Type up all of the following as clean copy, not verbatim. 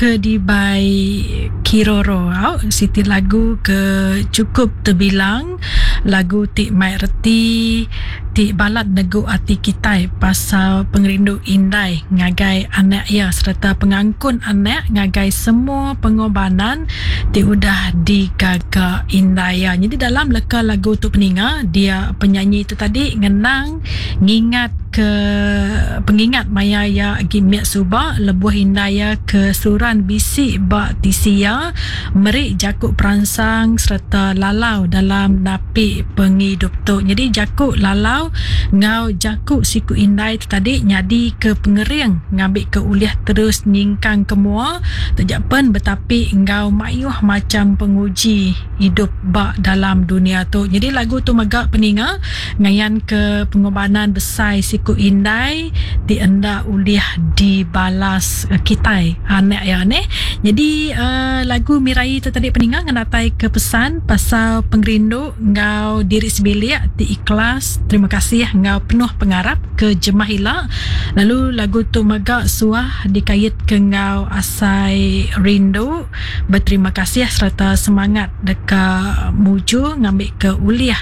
ke dibai Kiroro au siti lagu ke chukup tebilang lagu ti mai reti ti balat negu ati kitai pasal pengerindu indai ngagai anak iya sereta pengangkun anak ngagai semua pengorbanan ti udah digaga indai iya. Nyadi dalam leka lagu tu peninga dia penyanyi tu tadi ngenang ngingat ke pengingat maya iya agi mit suba lebuh indai iya ke seruran bisi ba tisi iya meri jaku peransang sereta lalau dalam napi pengidup tu. Nyadi jaku lalau enggau jaku siku indai tu tadi nyadi ke pengering ngambika ulih terus nyingkang ke mua taja pen betapi enggau mayuh macham penguji idup ba dalam dunya tu. Nyadi lagu tu mega peninga Ngayanka pengorbanan besai siku indai ti enda ulih dibalas kitai anak iya neh. Nyadi lagu Miraie tu tadi peninga ngenataika pesan pasal pengerindu enggau diri sebilik ti ikhlas, terima kasih enggau penuh pengarap ke jemah ila. Lalu lagu tu mega suah dikaitka enggau asai rindu, beterima kasih sereta semangat deka mujur ngambika ulih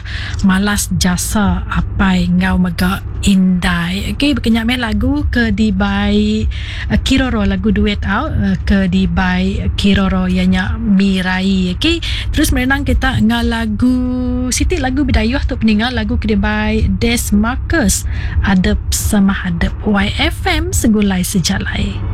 Malas jasa apai enggau mega indai. Okey baka nya meh lagu ke dibai Kiroro lagu duet au ke dibai Kiroro iya nya Mirai. Okey terus merenang kita enggau lagu siti lagu Bidayuh tu peninga lagu ke dibai Des Marcus Adep Semah Adep YFM Segulai Sejalai.